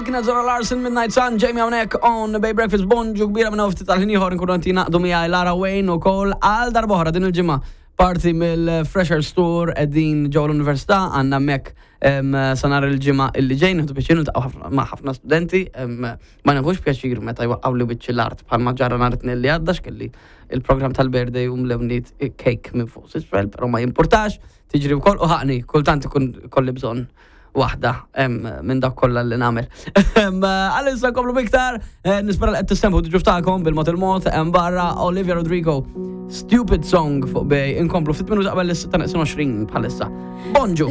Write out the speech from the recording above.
Kienet Zora Larson Midnight Sun, Jamie hawnhekk on Bay Breakfast. Bonġu kbira minn ftit tal-ħin ieħor nkunu qed jingħaqdu miegħi Lara Wayne ukoll għal darb'oħra din il-ġimgħa. Parti mill-Freshers Tour qegħdin ġewwa l-Università għandna hemmhekk sa nhar il-ġimgħa illi ġej nieħdu pjaċir niltaqgħu ma' ħafna studenti ma nieħux pjaċir meta jwaqqgħu li wiċċi l-art bħalma ġara nhar it-Tnejn li għadda x'kelli il-programm tal-birthday u mlewniet cake minn fuq s'isfel, però ma jimpurtax, tiġri wkoll u ħaqni, kultant ikun kolli bżonn waħda minn dak kollha li nagħmel. Għalissa nkomplu biktar, eh, nispera li qed tistemħu diġu tagħkom bil-mod il-mod hemm barra Olivia Rodrigo. Stupid Song fuq bej inkomplu ftit minuti qabel is-6 bħalissa. Bonġu!